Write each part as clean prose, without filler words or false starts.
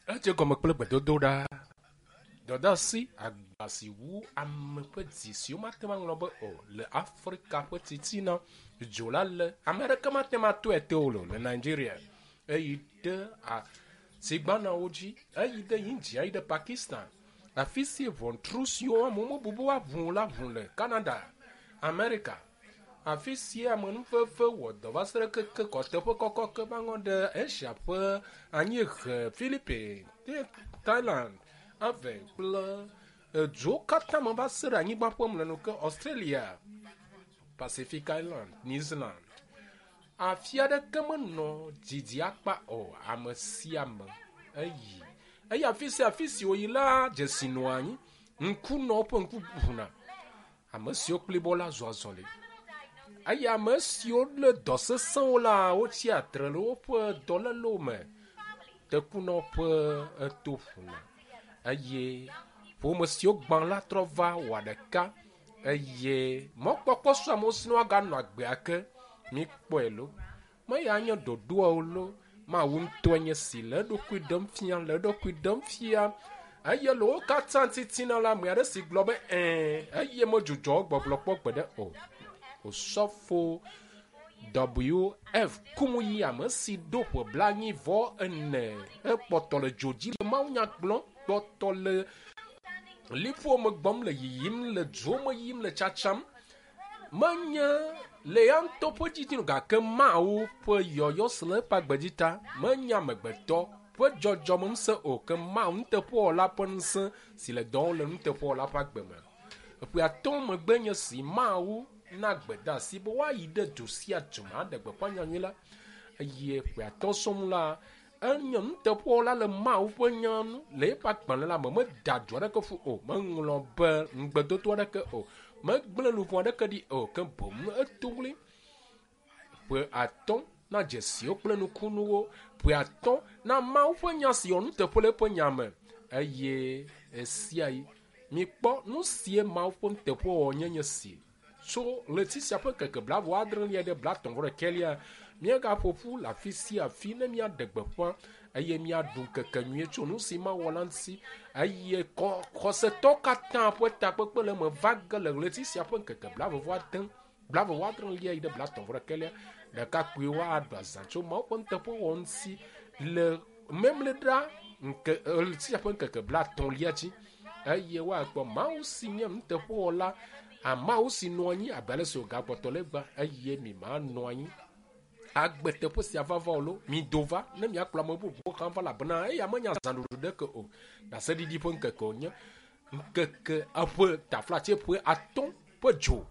Edze gɔme kple gbedodoɖa, dɔdeasi, agba si wu ame ƒe dzi si womate ŋu aŋlɔ be o le Afrika ƒe titina. Dzo la le ame aɖeke mate ŋu atɔe te o le Nigeria. Eyi ɖe asigbanawo dzi, eyi ɖe India, eyi ɖe Pakistan. Afi si ʋɔtru siwo amewo mebu be woaʋu o la ʋu le Canada, Amerika. Afi sia amenuveve wɔ dɔ va se ɖe keke kɔ teƒe kɔkɔ ke va ŋɔ ɖe Asia ƒe anyiehe, Philippines, Thailand, ave kple eduwo katã me va se ɖe anyigba ƒe mlɔenu ke Australia, Pacific Island, New Zealand. Afi aɖeke menɔ didi akpa o, ame sia ame eyi. Eye afi sia afi si wòyi la, dzesi nɔa anyi. Ŋkunɔwo ƒe ŋku ʋuna. Ame siwo kplibɔ la zɔa azɔli. Eye ame siwo lé dɔ sesẽwo la, wotsia tre le woƒe dɔlélewo me. Tekunɔ ƒe eto ƒuna eye ƒome siwo gbã la trɔ va wɔ ɖeka eye mɔkpɔkpɔ su amewo si ne woaganɔ agbe ake. Mikpɔe lo. Meya nye ɖoɖoa o lo. Mawu ŋutɔe nye si le eɖokui ɖem fia, le eɖokui ɖem fia. Eye le wo katã titina la, ame aɖe si gblɔ be ɛ̃, eye medzudzɔ gbɔgblɔ kpɔ gbeɖe o. Osɔfo WF Kumuyi, ame si ɖo ƒe 44, ekpɔtɔ le dzo dzi le mawunya gblɔm, kpɔtɔ le liƒo me gbɔm le yiyim, le duwo me yim le tsatsam. Menye le ya ŋutɔ ƒe didi o gake Mawu ƒe yɔyɔ si le eƒe agbe dzi ta menye amegbetɔ ƒe dzɔdzɔmeŋusẽ o ke Mawu nuteƒewɔla ƒe ŋusẽ si le dɔ wɔm le nuteƒewɔla ƒe agbe me. Ƒe atɔ̃ megbe nye si Mawu na gbedeasi be woayi ɖe du sia du me aɖe gbeƒã nyanyui la eye ƒe atɔ̃ sɔŋ la enye nuteƒewɔla le Mawu ƒe nya nu le eƒe agbalẽ la me meda du aɖeke ƒu o, meŋlɔ be ŋugbedodo aɖeke o, megblẽ luʋɔ aɖeke ɖi o ke boŋ eto ɣli ƒe atɔ̃ na dzesiwo kple nukunuwo, ƒe atɔ̃ na Mawu ƒe nya si wɔ nuteƒe le eƒe nya me eye esia yi mikpɔ nu sie Mawu ƒe nuteƒewɔwɔ nye nye si. Tso ɣleti sia ƒe ŋkeke blaeve-vɔ-adrelia ɖe 35lia, míagaƒo ƒu le afi sia afi ne míaɖe gbeƒã eye míaɖu ŋkeke nyuie tso nu si Mawu wɔ la ŋuti. Eye xɔsetɔwo katã ƒe takpekpe le eme va ge le ɣleti sia ƒe ŋkeke blaeve-vɔ-ade, blaeve-vɔ-adrelia yi ɖe 35lia. Ɖekakpuiwo aɖu azã tso Mawu ƒe nuteƒewɔwɔ ŋuti le memleɖa ŋke ɣleti sia ƒe ŋkeke 30lia dzi eye woakpɔ Mawu si nye nuteƒewɔla, Mawu si nɔ anyi abe ale si wògakpɔtɔ le egbea eye mi manɔ anyi agbe teƒe sia vava o lo. Mido va ne miakplɔ ame bubuwo hã va elabena eya menye azãɖuɖu ɖeke o. Ɖaseɖiɖi ƒe ŋkeke wònye. Ŋkeke eƒe taflatse ƒe atɔ̃ ƒe dzo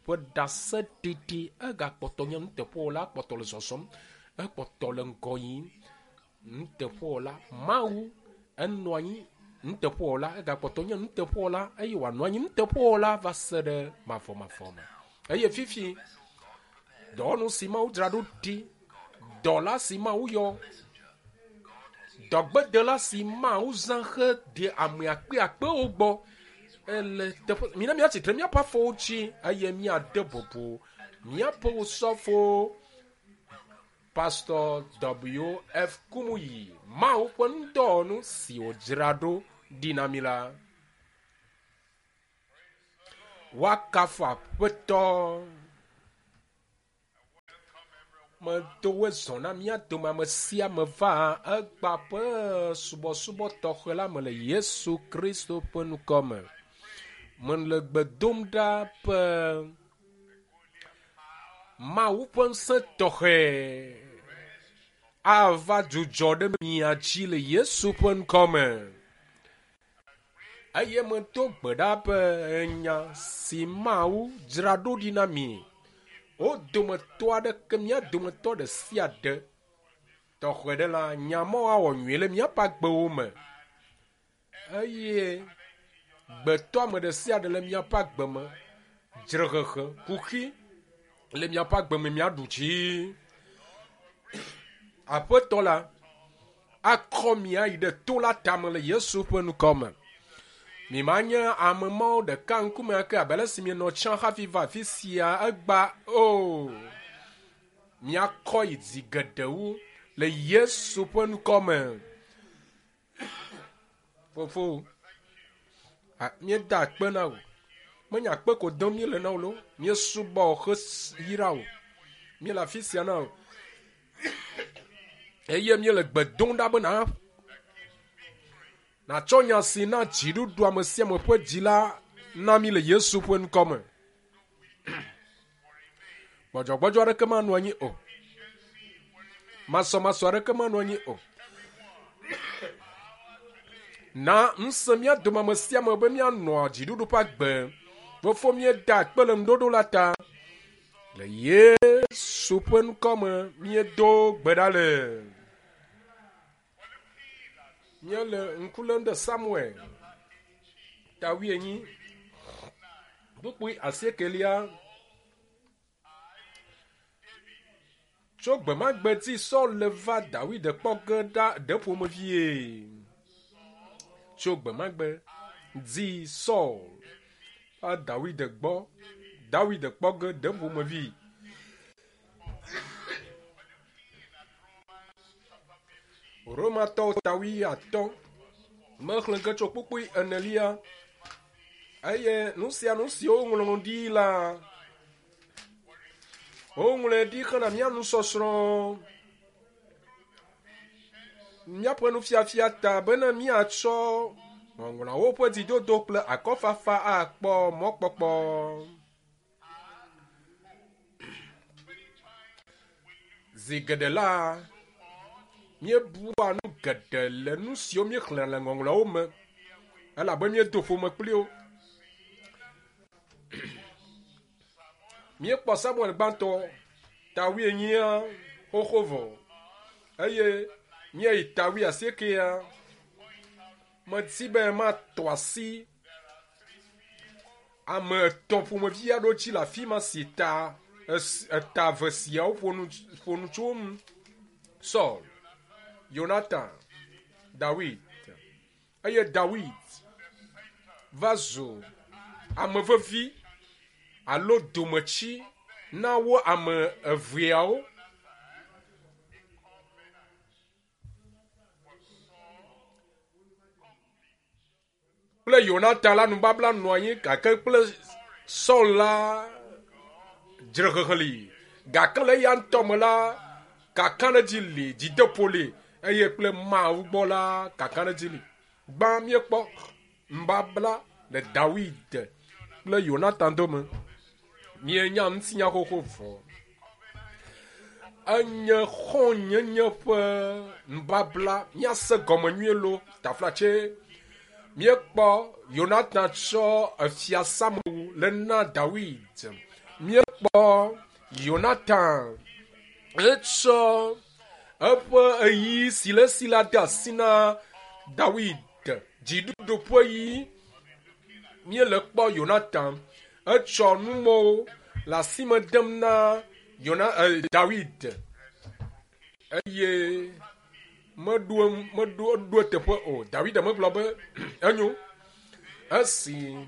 ƒe ɖaseɖiɖi egakpɔtɔ nye nuteƒewɔla, ekpɔtɔ le zɔzɔm, ekpɔtɔ le ŋgɔ yim. Nuteƒewɔla, Mawu enɔ anyi nuteƒewɔla, egakpɔtɔ nye nuteƒewɔla eye wòanɔ anyi nuteƒewɔla va se ɖe mavɔmavɔ me. Eye fifi dɔwɔnu si Mawu dzra ɖo ɖi, dɔla si Mawu yɔ, dɔgbedela si Mawu zã heɖe ame akpeakpewo gbɔ ele teƒe. Mina míatsi tre míaƒe afɔwo dzi eye míade bubu míaƒe osɔfo Pastor W.F. Kumuyi, Mawu ƒe ŋudɔwɔnu si wòdzra ɖo ɖi na mí la. Woakafu Aƒetɔ. Medo woe zɔ na mía dome ame sia ame va egbea ƒe subɔsubɔ tɔxɛ la me le Yesu Kristo ƒe ŋkɔ me. Mele gbe dom ɖa be Mawu ƒe ŋusẽ tɔxɛ ava dzudzɔ ɖe mia dzi le Yesu ƒe ŋkɔ me. Eye medo gbe ɖa be enya si Mawu dzra ɖo ɖi na mi, wo dometɔ aɖeke, mía dometɔ ɖe sia ɖe tɔxɛ ɖe la, nya ma woawɔ nyuie le míaƒe agbewo me. Eye gbetɔame ɖe sia ɖe le míaƒe agbe me, dzrehehe, kuxi le míaƒe agbe me míaɖu dzi. Aƒetɔ la akɔ mi ayi ɖe to la tame le Yesu ƒe ŋkɔ me. Mi manye ame mawo ɖeka ŋkume ake abe ale si mienɔ tsã hafi va afi sia egba o. Miakɔ yi dzi geɖe wu le Yesu ƒe ŋkɔ me. Fofo, míeda akpe na wò. Menye akpe ko dom míele na wò loo. Míesubɔ wò heyra wò. Míele afi sia na wò. Eye míele gbe dom ɖa be na nàtsɔ nya si na dziɖuɖu ame sia ame ƒe dzi la na mí le Yesu ƒe ŋkɔ me. Gbɔdzɔgbɔdzɔ aɖeke manɔ anyi o. Masɔmasɔ aɖeke manɔ anyi o. Na ŋusẽ mía dome ame sia ame be míanɔ dziɖuɖu ƒe agbe. Fofo míeda akpe le ŋuɖoɖo la ta. Le Yesu ƒe ŋkɔ me míedo gbe ɖa le. Míele ŋku lém ɖe Samuel ta wuienyi kpukpui asiekelia. Tso gbe ma gbe dzi Saul le va Dawid kpɔ ge ɖa ɖe ƒomevie. Tso gbe ma gbe dzi Saul va Dawid gbɔ Dawid kpɔ ge ɖe ƒomevi. Romatɔwo ta wuiatɔ̃ mexlẽ ge tso kpukpui enelia eye nu sia nu si woŋlɔ ɖi la woŋlɔe ɖi hena mía nusɔsrɔ̃ míaƒe nufiafia ta bena míatsɔ ŋɔŋlɔawo ƒe dzidodo kple akɔfafa akpɔ mɔkpɔkpɔ. Zi geɖe la, míebua nu geɖe le nu siwo míexlẽna le ŋɔŋlɔawo me elabe míedo ƒome kpli wo. Míekpɔ Samuel gbãtɔ ta wuienyia xoxo vɔ eye míeyi ta wuiasiekɛa. Medi be matɔ asi ame etɔ̃ ƒomevi aɖewo dzi le afi ma si ta eta eve siawo ƒo nu ƒo nu tso wo ŋu. Saul, Yonatan, Dawid eye Dawid va zu ame vevi alo dometsi na wo ame eveawo. Kple Yonatan la nubabla nɔ anyi gake kple Saul la dzrehehe li. Gake le eya ŋutɔ me la, kakaɖedzi li, dzideƒo li eye kple Mawu gbɔ la, kakaɖedzi li. Gbã míekpɔ nubabla le Dawid kple Yonatan dome. Míenya ŋutinya xoxo vɔ. Enye xɔ̃nyenye ƒe nubabla. Míase gɔme nyuie lo. Taflatse míekpɔ Yonatan tsɔ efia Samuel le na Dawid. Míekpɔ Yonatan etsɔ eƒe ɣeyiɣi si le esi la de asi na Dawid. Dziɖuɖu ƒe ɣeyiɣi míele kpɔ Yonatan etsɔ numɔwo le asi me dem na Yona e, Dawid eye meɖo meɖo eɖo eteƒe o. Dawid megblɔ be enyo esi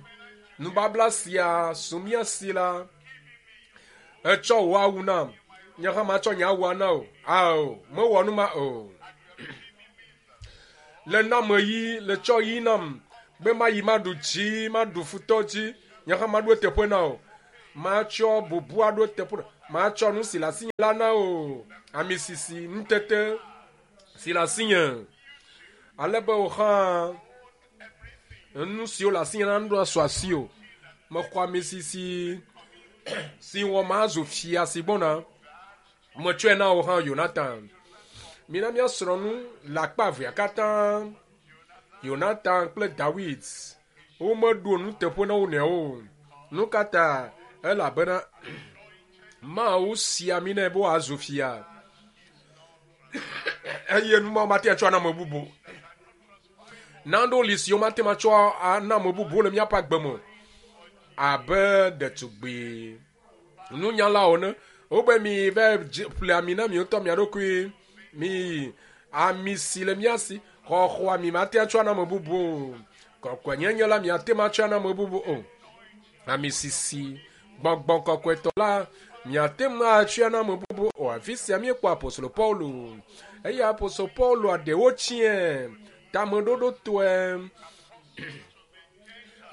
nubabla sia su mía si la, etsɔ wò awu nam, nye hã matsɔ nye awua na wò. Ao, mewɔ nu ma o. Le nam ɣi, le tsɔ ɣi nam be mayi maɖu dzi, maɖu futɔ dzi, nye hã maɖo eteƒe na wò. Matsɔ bubu aɖo eteƒe na matsɔ nu si le asinye la na wò. Ami sisi, nutete si le asinye. Ale be wò hã nu siwo le asinye la nuɖo asu asiwò. Mexɔ ami sisi si wɔ mazu fia si gbɔna. Metsɔe na wò hã Yonatan. Mina míasrɔ̃ nu le akpa evea katã. Yonatan kple Dawid womeɖo nuteƒe na wo nɔewo o. Nu ka ta? Elabena Mawu si ami nɛ be wòazu fia. Eye nu ma mate atsɔ ana ame bubu. Nanewo li siwo mate ŋu atsɔ ana ame bubu le míaƒe agbe me o. Abe ɖetugbui nunyalawo ene. Wobe mi va ƒle ami na mi ŋutɔ mia ɖokui. Mi ami si le mía si xɔxɔ ami mate atsɔ ana ame bubu o. Kɔkɔenyenye la miate ŋu atsɔ ana ame bubu o. Ami sisi gbɔgbɔ kɔkɔetɔ la miate ŋu atsɔe ana ame bubu o. Afi sia míekpɔ apostolo Paulo. Eye apostolo Pauloa ɖewo tsiẽ. tameɖoɖotɔe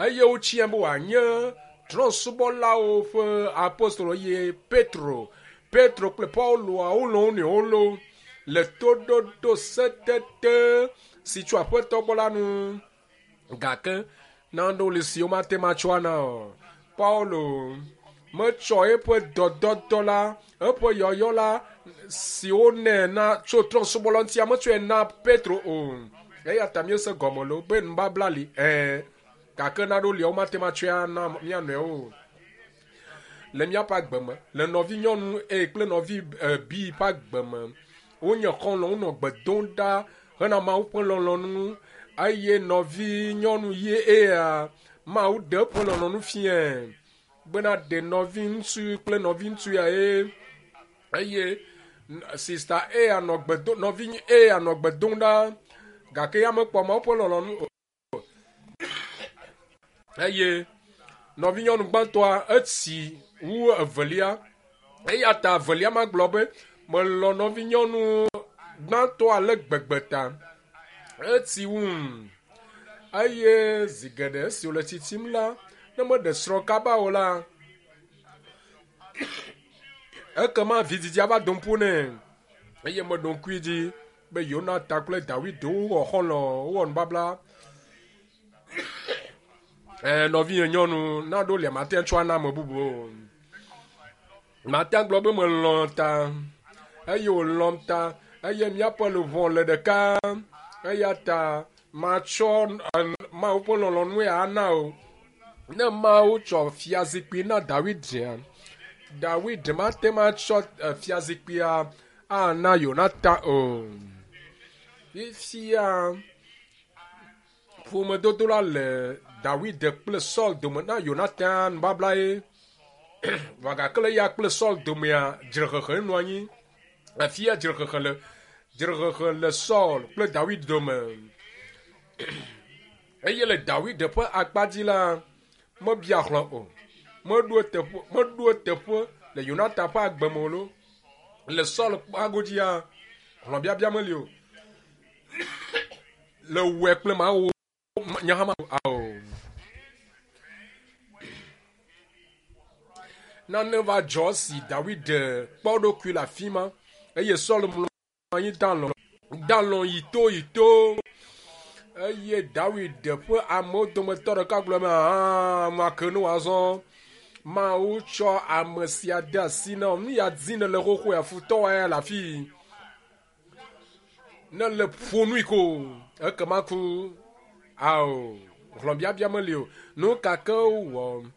eye wotsia be wòanye trɔ̃subɔlawo ƒe apostolo eye Petro, Petro kple Pauloa wolɔ̃ wo nɔewo lo le toɖoɖo setete si tso Aƒetɔ gbɔ la nu. Gake nanewo li si womate ŋu atsɔ ana o. Paulo metsɔ eƒe dɔdɔdɔ la, eƒe yɔyɔ la si wonɛ na tso trɔ̃subɔla ŋutia metsɔe na Petro o. Eya ta míese gɔme lo be nubabla li ɛ̃, gake nanewo lia womate ŋu atsɔe ana mía nɔewo o. Le míaƒe agbe me, le nɔvinyɔnu A kple nɔvi B ƒe agbe me, wonye xɔlɔ̃, wonɔ gbe dom ɖa hena Mawu ƒe lɔlɔ̃nu eye nɔvinyɔnu ye ea Mawu ɖe eƒe lɔlɔ̃nu fiae bena ɖe nɔviŋutsu kple nɔviŋutsu ya ye eye sista A nɔ gbe do nɔvi A nɔ gbe dom ɖa gake ya mekpɔ Mawu ƒe lɔlɔ̃nu o. Eye nɔvinyɔnu gbãtɔa etsi wu evelia eya ta evelia magblɔ be melɔ̃ nɔvinyɔnu gbãtɔa ale gbegbe ta etsi wum eye zi geɖe esi wòle tsitsim la ne meɖe srɔ̃ kaba o la ekema vidzidzia va dom ƒo nɛ eye meɖo ŋkui dzi be Yonatan kple Dawid wowɔ xɔlɔ̃ wowɔ nubabla. Ɛɛ nɔvinye nyɔnu naɖo lia mate ŋu tsɔ ana ame bubu o. Mate ŋu gblɔ be melɔ̃ ta eye wòlɔ̃m ta eye míaƒe luʋɔ le ɖeka eya ta matsɔ Mawu ƒe lɔlɔ̃nu ya ana o. Ne Mawu tsɔ fiazikpui na Dawid, Dawid mate ŋu atsɔ fiazikpuia ana Yonatan o. Fifia ƒomedodo la le Dawid kple Saul dome na Yonatan nubabla ye. Vɔ gake le eya kple Saul domea dzrehehe nɔ anyi. Afia dzrehehe le dzrehehe le Saul kple Dawid dome. Eye le Dawid ƒe akpa dzi la, mebia hlɔ̃ o. Meɖo eteƒe meɖo eteƒe le Yonatan ƒe agbe me o lo. Le Saul ƒe agodzia, hlɔ̃biabia meli o. Le wɔe kple Mawu nye hã ao. Nane va dzɔ si Dawid kpɔ eɖokui le afi ma eye Saul mlɔ anyi dalɔ dalɔ yi to yi to eye Dawid ƒe amewo dometɔ ɖeka gblɔ be aa make ne wòazɔ Mawu tsɔ ame sia de asi na nu ya di ne le xoxo ya futɔ wa ya le afi ne le ƒo nui ko ekema ku ao hlɔ̃biabia meli o nu ka ke wowɔ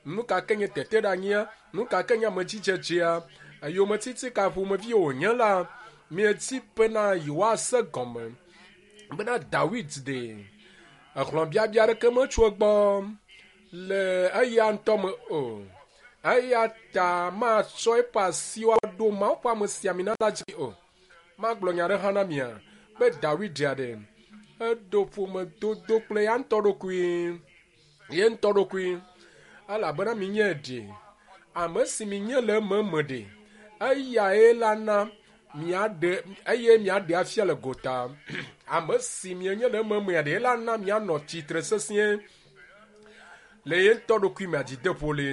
nu ka ke nye teteɖeanyia nu ka ke nye amedzidzedzea yometiti ka ƒomevi wònye la mieti bena yewoase gɔme bena Dawid ɖe exlɔ̃biabia aɖeke metso egbɔ le eya ŋutɔ me o eya ta matsɔ eƒe asiwo aɖo Mawu ƒe amesiamina la dzi o. Magblɔ nya aɖe hã na mia be Dawid ɖe eɖo ƒomedodo kple ya ŋutɔ ɖokui ye ŋutɔ ɖokui elabena minye ɖe ame si minye le ememe ɖe eyae la na miaɖe eye miaɖe afia le gota ame si mienye le ememea ɖe la na mianɔ tsitre sesĩe le ye ŋutɔ ɖokui me adzideƒo le.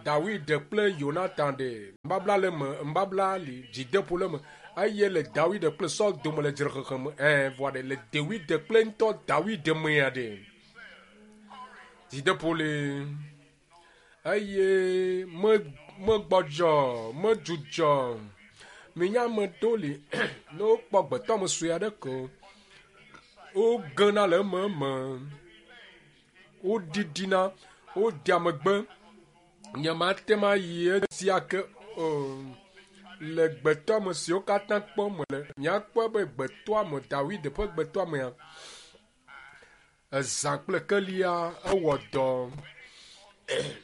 Dawid kple Yonatan ɖe nubabla le me nubabla li dzideƒo le me eye le Dawid kple Saul dome le dzrehehe me ɛɛ vɔa ɖe le Dawid kple ŋutɔ Dawid mea ɖe dzideƒo le eye me megbɔdzɔ medzudzɔ minya ame ɖewo li ne wokpɔ gbetɔ ame sue aɖe ko wogena le ememe woɖiɖina wodea megbe nyemate ŋu ayi edzi ake o le gbetɔame siwo katã kpɔm mele miakpɔe be gbetɔame Dawid ƒe gbetɔamea ezã kple kelia ewɔ dɔ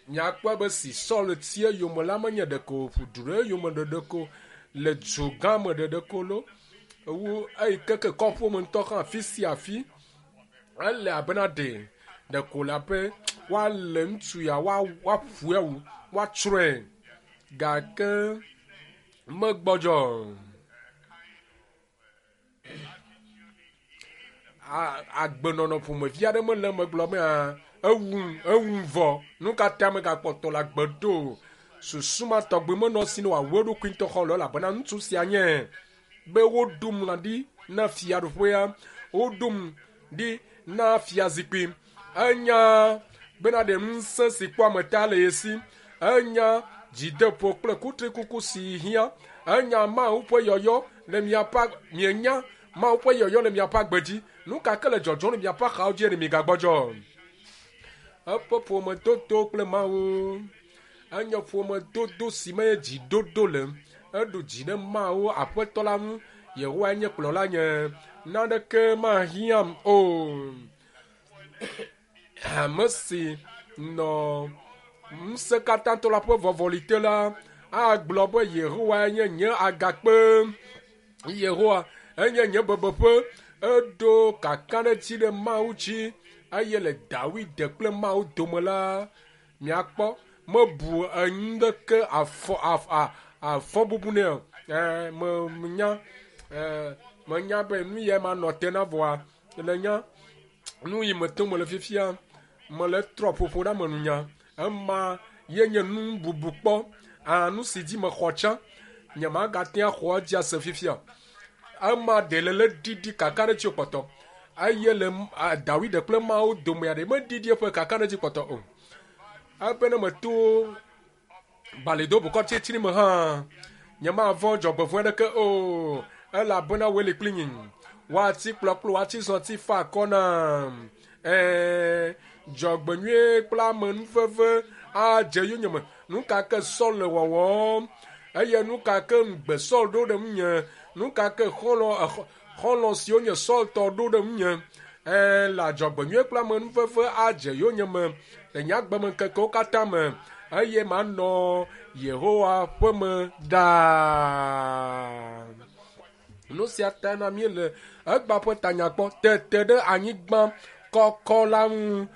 miakpɔe be si Saul ti eyome la menye ɖeko wòƒu du ɖe eyome ɖeɖeko le du gã me ɖeɖeko lo wu eyi keke kɔƒe me ŋutɔ hã afi sia afi ele abena ɖe ɖeko le abe woalé ŋutsu ya woaƒoe awu woatsrɔ̃e gake megbɔdzɔ. Agbenɔnɔ ƒomevi aɖe mele eme gblɔ be ewum, ewum vɔ. Nu ka ta megakpɔtɔ le agbe ɖo? Susu ma tɔgbi menɔ esi ne wòawu eɖokui ŋutɔ xɔlɔ̃ elabena ŋutsu sia nye be woɖom lã ɖi na fiaɖuƒea, woɖom ɖi na fiazikpui. Enya bena ɖe ŋusẽ si kpɔ ame ta le ye si. Enya dzideƒo kple kutrikuku si hiã. Enya Mawu ƒe yɔyɔ le miaƒe mienya Mawu ƒe yɔyɔ le miaƒe agbe dzi. Nu ka ke le dzɔdzɔm le miaƒe axawo dzi eye migagbɔdzɔ. Eƒe ƒomedodo kple Mawu enye ƒomedodo si me dzidodo le. Eɖu dzi ɖe Mawu Aƒetɔ la ŋu. Yehowa nye kplɔla nye. Naneke mahiãm o. Ame si nɔ ŋusẽkatãtɔ la ƒe vɔvɔli te la agblɔ be Yehowa nye nye agakpe. Yehowa enye nye bebeƒe. Eɖo kakaɖedzi ɖe Mawu dzi eye le Dawid kple Mawu dome la, miakpɔ mebu enu ɖeke afɔ afɔ bubu nɛ o. Menya menya be nu ya manɔ te na vɔa le nya nu yi me tom mele fifia mele trɔ ƒoƒo ɖe ame nunya. Ema ye nye nu bubu kpɔ. Nu si dzi mexɔ tsã nyemagate axɔ edzi ase fifia. Ema ɖe le le ɖiɖi kakaɖedzi kpɔtɔ eye le Dawid kple Mawu domea ɖe meɖiɖi eƒe kakaɖedzi kpɔtɔ o. Ebe ne meto balido bokɔ tsitsri me hã nyemavɔ̃ dzɔgbevɔ̃e ɖeke o elabena woe li kpli nye. Woati kplɔ kple woati zɔti fa akɔ nam. Dzɔgbenyuie kple amenuveve adze yonyeme. Nu ka ke Saul le wɔwɔm eye nu ka ke ŋugbe Saul ɖo ɖe ŋunye, nu ka ke xɔlɔ̃ siwo nye Saul tɔ ɖo ɖe ŋunye. Le adzɔgbenyuie kple amenuveve adze yonyeme le nye agbemeŋkekewo katã me eye manɔ Yehowa ƒe me ɖaa. Nu sia ta na míele egbea ƒe tanya kpɔ tete ɖe anyigba kɔkɔ la ŋu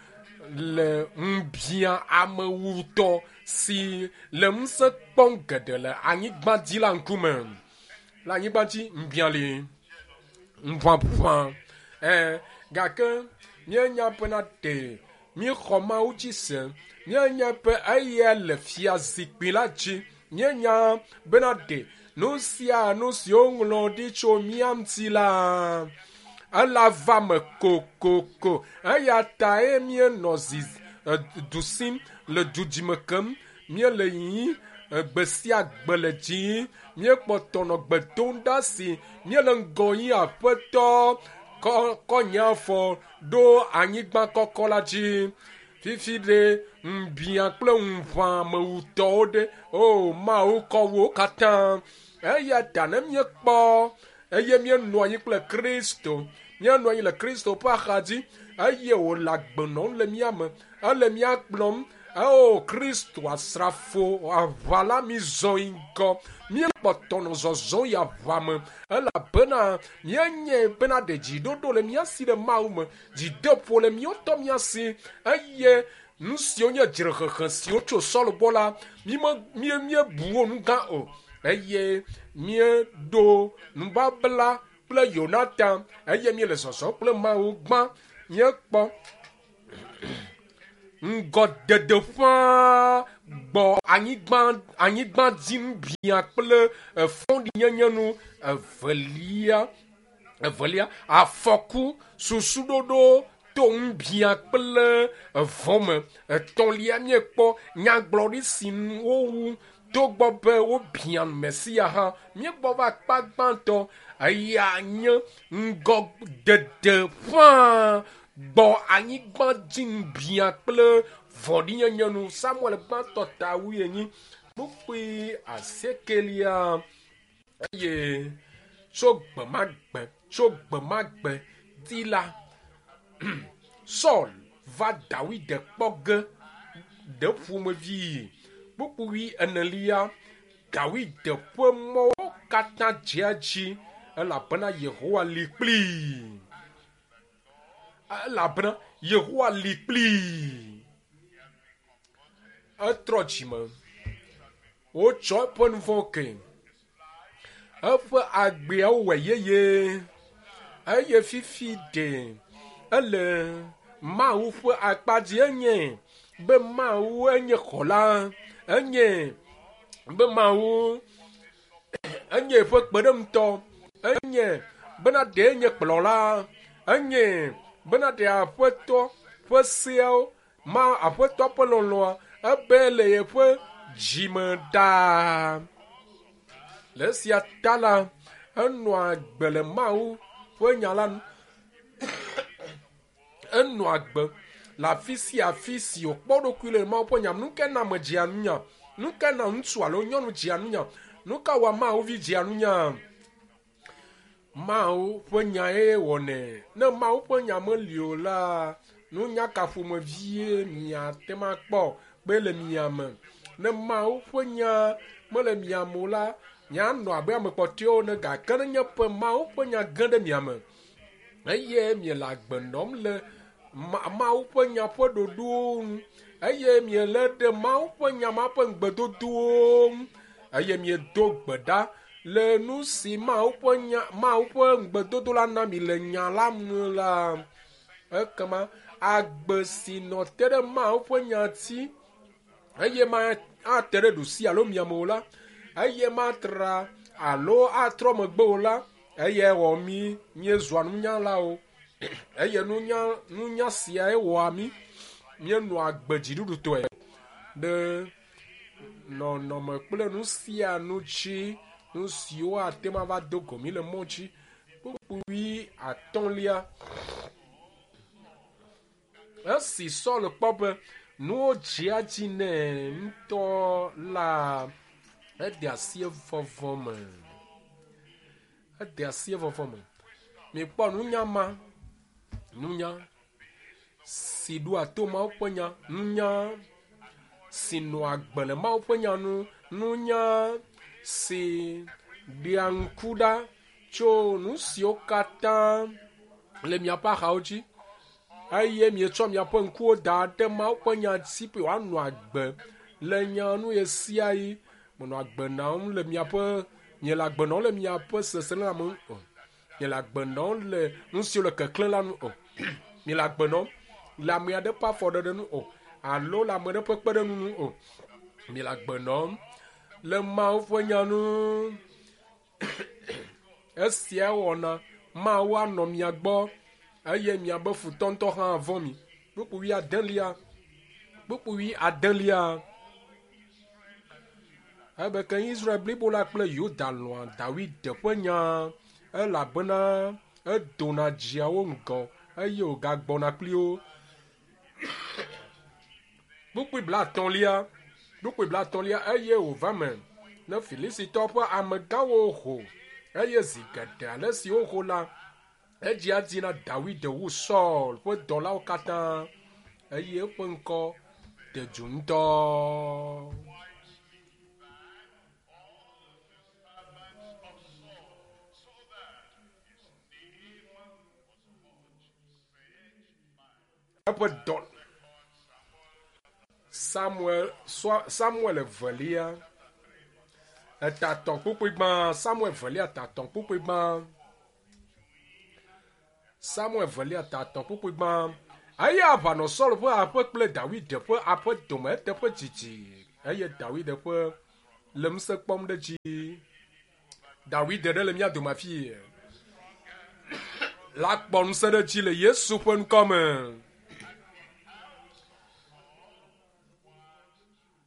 le ŋubia amewutɔ si le ŋusẽ kpɔm geɖe le anyigba dzi la ŋkume. Le anyigba dzi ŋubia li ŋuʋaʋã. Gake míenya bena ɖe míexɔ Mawu dzi se. Míenya be eya le fiazikpui la dzi. Míenya bena ɖe nu sia nu si woŋlɔ ɖi tso mía ŋuti la ela va me kokoko. Eya tae míenɔ zi du sim le dudzime kem. Míele yiyim gbe sia gbe le dzi. Míekpɔtɔ nɔ gbe dom ɖa si míele ŋgɔ yim Aƒetɔ kɔ nye afɔ ɖo anyigba kɔkɔ la dzi. Fifi ɖe ŋubia kple ŋuʋãmewutɔwo ɖe. O Mawu kɔ wo katã. Eya ta ne míekpɔ eye míenɔ anyi kple Kristo, míenɔ anyi le Kristo ƒe axadzi eye wòle agbe nɔm le mía me, ele mía kplɔm. O Kristo asrafo aʋa la mi zɔ yi ŋgɔ. Míekpɔtɔ nɔ zɔzɔm yi aʋa me elabena míenyae bena ɖe dziɖoɖo le mía si ɖe Mawu me, dzideƒo le míawo tɔ mía si eye nu siwo nye dzrehehe siwo tso Saul gbɔ la, míebu wo nu gã o eye míeɖo nubabla kple Yonatan eye míele zɔzɔm kple Mawu gbã. Míekpɔ ŋgɔdede ƒãa gbɔ anyigba dzi ŋubia kple fɔɖinyenye nu. Evelia afɔku susuɖoɖo to ŋubia kple vɔ̃ me. Etɔ̃lia míekpɔ nyagblɔɖi si wowu togbɔ be wobia Mesia hã. Míegbɔ va akpa gbãtɔ eya nye ŋgɔdede ƒãa gbɔ anyigba dzi ŋubia kple vɔ̃ɖinyenye nu. Samuel gbãtɔ ta wuienyi kpukpui asiekelia eye tso gbemagbe di la Saul va Dawid kpɔ ge ɖe ƒomevi. Kpukpui enelia Dawid ƒe mɔwo katã dzea dzi elabena Yehowa li kplii. Elabena Yehowa li kplii. Etrɔ dzime. Wotsɔ eƒe nu vɔ̃ ke. Eƒe agbeawo wɔ yeye. Eye fifi ɖe ele Mawu ƒe akpa dzi enye be Mawu enye xɔla, enye be Mawu enye eƒe kpeɖeŋutɔ, enye bena ɖe enye kplɔla, enye bena ɖe aƒetɔ ƒe seawo ma aƒetɔ ƒe lɔlɔa ebe le yeƒe dzime ɖaa. Le esia ta la, enɔa agbe le Mawu ƒe nya la nu. Enɔa agbe le afi sia afi si wòkpɔ eɖokui le Mawu ƒe nya me. Nu ka na ame dzea nunya? Nu ka na ŋutsu alo nyɔnu dzea nunya? Nu ka wɔa Mawu vi dzea nunya? Mawu ƒe nyae wɔnɛ. Ne Mawu ƒe nya meli o la, nunya ka ƒomevie miate ŋu akpɔ be le mia me? Ne Mawu ƒe nya mele mia me o la, mianɔ abe ame kpɔtɔewo ene gake nenye be Mawu ƒe nya ge ɖe mia me eye miele agbe nɔm le Mawu ƒe nya ƒe ɖoɖowo nu eye miele ɖe Mawu ƒe nya ma ƒe ŋugbedodowo ŋu eye miedo gbe ɖa le nu si Mawu ƒe nya Mawu ƒe ŋugbedodo la na mi le nya la me la, ekema agbe si nɔ te ɖe Mawu ƒe nya dzi eye ma ate ɖe ɖusi alo miame o la, eye matra alo atrɔ megbe o la, eye wɔ mí míezua nunyalawo eye nunya nunya siae wɔa mí míenɔa agbe dziɖuɖutɔe ɖe nɔnɔme kple nu sia nu dzi nu siwo ate ŋu ava do go mí le mɔ dzi. Kpukpui atɔ̃lia. Esi Saul kpɔ be nuwo dzea dzi nɛ ŋutɔ la, ede asi evɔvɔ me. Ede asi evɔvɔ me. Mikpɔ nunya ma, nunya si ɖoa to Mawu ƒe nya, nunya si nɔa agbe le Mawu ƒe nya nu, nunya si ɖea ŋku ɖa tso nu siwo katã le miaƒe axawo dzi eye mietsɔ miaƒe ŋkuwo da ɖe Mawu ƒe nya dzi be wòanɔ agbe le nya nu ɣesiaɣi. Menɔ agbe nɔm le miaƒe miele agbe nɔm le miaƒe seselelãme nu o. Miele agbe nɔm le nu siwo le keklẽ la nu o. Miele agbe nɔm le ame aɖe ƒe afɔɖeɖe nu o alo le ame aɖe ƒe kpeɖeŋu nu o. Miele agbe nɔm le Mawu ƒe nya nu. Esia wɔna Mawu anɔ mia gbɔ eye miabe futɔ ŋutɔ hã avɔ̃ mi. Kpukpui adelia. Kpukpui adelia. Ebe ke Israel blibo la kple Yuda lɔ̃a Dawid ƒe nya elabena edona dzia wo ŋgɔ eye wògagbɔna kpli wo. Kpukpui blaetɔ̃lia. Kpukpui blaetɔ̃lia eye wòva me ne Filistitɔwo ƒe amegãwo ho eye zi geɖe ale si woho la, edzia dzi na Dawid wu Saul ƒe dɔlawo katã eye eƒe ŋkɔ de du ŋutɔ. Eƒe dɔ Samuel Samuel evelia etatɔ kpukpui gbã Samuel evelia tatɔ kpukpui gbã Samuel evelia tatɔ kpukpui gbã eye aʋa nɔ Saul ƒe aƒe kple Dawid ƒe aƒe dome eteƒe didi eye Dawid ƒe le ŋusẽ kpɔm ɖe dzi. Dawid ɖe le mía dome afi la kpɔ ŋusẽ ɖe dzi le Yesu ƒe ŋkɔ me.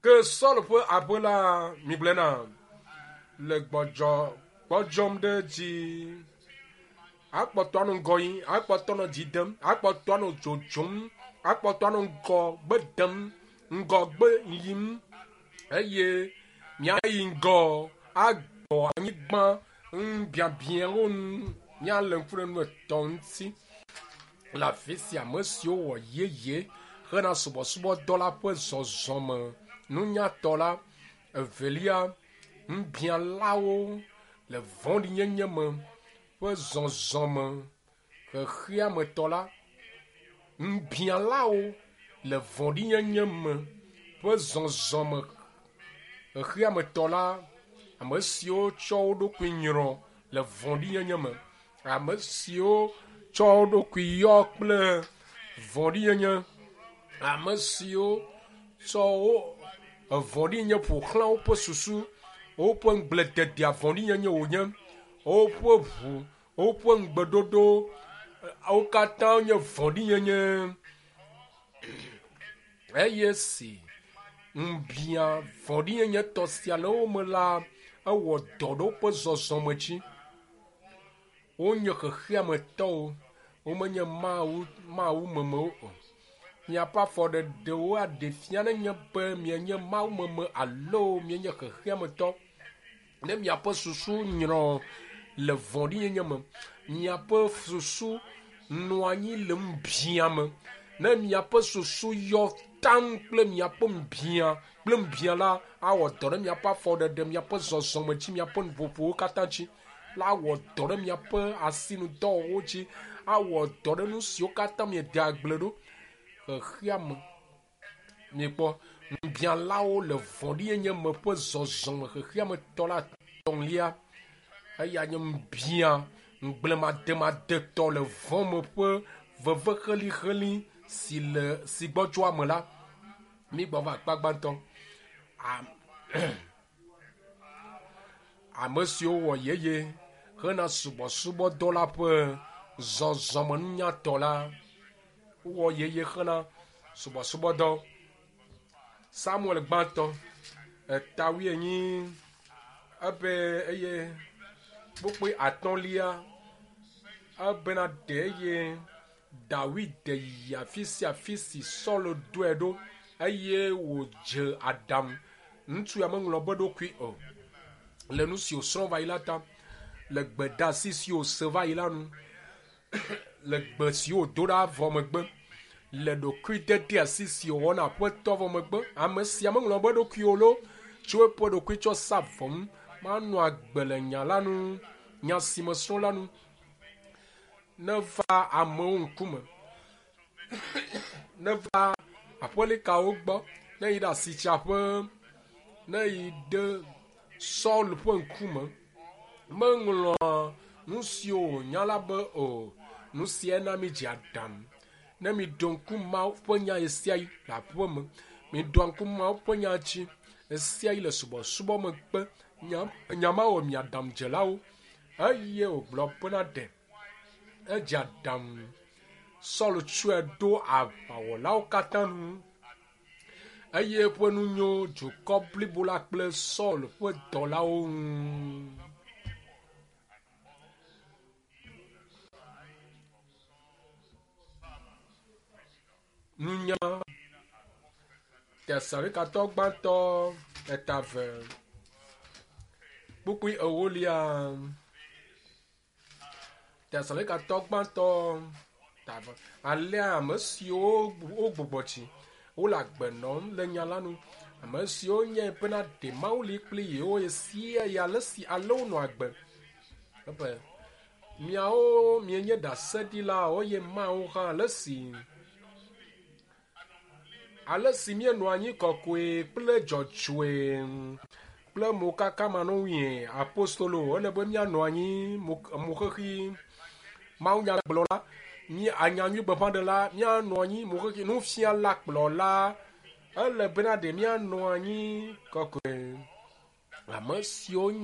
Ke Saul ƒe aƒe la migblɔe na le gbɔdzɔ gbɔdzɔm ɖe dzi. Akpɔtɔ anɔ ŋgɔ yim, akpɔtɔ anɔ dzi dem, akpɔtɔ anɔ dzodzom, akpɔtɔ anɔ ŋgɔgbe dem, ŋgɔgbe yim eye míayi ŋgɔ agbɔ anyigba ŋubiabiawo nu. Míalé ŋku ɖe nu etɔ̃ ŋuti le afi sia ame siwo wɔ yeye hena subɔsubɔdɔ la ƒe zɔzɔme nunyatɔ la. Evelia, ŋubialawo le vɔ̃ɖinyenye me ƒe zɔzɔme xexeametɔ la. Ŋubialawo le vɔ̃ɖinyenye me ƒe zɔzɔme xexeametɔ la. Ame siwo tsɔ wo ɖokui nyrɔ le vɔ̃ɖinyenye me. Ame siwo tsɔ wo ɖokui yɔ kple vɔ̃ɖinyenye. Ame siwo tsɔ wo evɔ̃ɖinyenye ƒo xlã woƒe susu, woƒe ŋugblededea vɔ̃ɖinyenye wònye, woƒe ʋu, woƒe ŋugbedodo, wo katã nye vɔ̃ɖinyenye. Eye si ŋubia vɔ̃ɖinyenye tɔ sia le wo me la, ewɔ dɔ ɖe woƒe zɔzɔme dzi. Wonye xexeametɔwo, womenye Mawu mawumemewo o. Miaƒe afɔɖeɖewo aɖe fia nenye be mienye mawumeme alo mienye xexeametɔ. Ne miaƒe susu nyrɔ le vɔ̃ɖinyenye me, miaƒe susu nɔ anyi le ŋubiã me, ne miaƒe susu yɔ taŋ kple miaƒe ŋubiã kple ŋubiã la, awɔ dɔ ɖe miaƒe afɔɖeɖe, miaƒe zɔzɔme dzi, miaƒe nuƒoƒowo katã dzi. La awɔ dɔ ɖe miaƒe asinudɔwɔwɔwo dzi, awɔ dɔ ɖe nu siwo katã miede agble ɖo xexeame. Mikpɔ ŋubiãlawo le vɔ̃ɖinyenye me ƒe zɔzɔme xexeame tɔ la etɔ̃lia. Eya nye ŋubiã ŋugblemademadetɔ le vɔ̃ me ƒe veve xelixeli si le si gbɔdzɔa me la. Mígbɔ va akpa gbãtɔ. Ame siwo wɔ yeye hena subɔsubɔdɔ la ƒe zɔzɔme nunyatɔ la wowɔ yeye hena subɔsubɔdɔ. Samuel gbãtɔ eta wuienyi ebe eye kpukpui atɔ̃lia ebena ɖe eye Dawid yi afi sia afi si Saul ɖoe ɖo eye wòdze aɖaŋu. Ŋutsu ya meŋlɔ be ɖokui o le nu si wòsrɔ̃ va yi la ta, le gbedeasi si wòse va yi la nu, le gbe si wòdo ɖa vɔ megbe, le ɖokuidedeasi si wòwɔ na Aƒetɔ vɔ megbe. Ame sia meŋlɔ be ɖokui o loo, tso eƒe ɖokui tsɔ sa vɔ ŋu, manɔ agbe le nya la nu, nya si mesrɔ̃ la nu. Neva amewo ŋkume, neva aƒelikawo gbɔ, ne yi ɖe asitsaƒe, ne yi ɖe Saul ƒe ŋkume. Meŋlɔa nu siwo wònya la be o. Nu sia na mídze aɖaŋu. Ne miɖo ŋku Mawu ƒe nya ɣesiaɣi le aƒe me, miɖoa ŋku Mawu ƒe nya dzi ɣesiaɣi le subɔsubɔ megbe, nya, nya ma wɔ mi aɖaŋudzelawo. Eye wògblɔ bena ɖe edze aɖaŋu. Saul tsɔe ɖo aʋawɔlawo katã nu eye eƒe nu nyo dukɔ blibo la kple Saul ƒe dɔlawo ŋu. Nunya Tesalonikato gbãtɔ eta eve kpukpui ewolia. Tesalonikato gbãtɔ ta eve. Alea ame siwo wogbugbɔ tsi wole agbe nɔm le nya la nu. Ame siwo nye bena ɖe Mawu li kpli yewo ɣesiaɣi ale si ale wonɔ agbe. Ebe Miawo mienye ɖaseɖilawo eye Mawu hã le esi ale si míenɔ anyi kɔkɔe kple dzɔdzɔe kple mokaka manɔŋui apostolo ele be míanɔ anyi moxexi mawunyagblɔla mí anyanyuigbeƒãɖela míanɔ anyi moxexi nufiala kplɔla ele bena ɖe míanɔ anyi kɔkɔe ame siwo nye.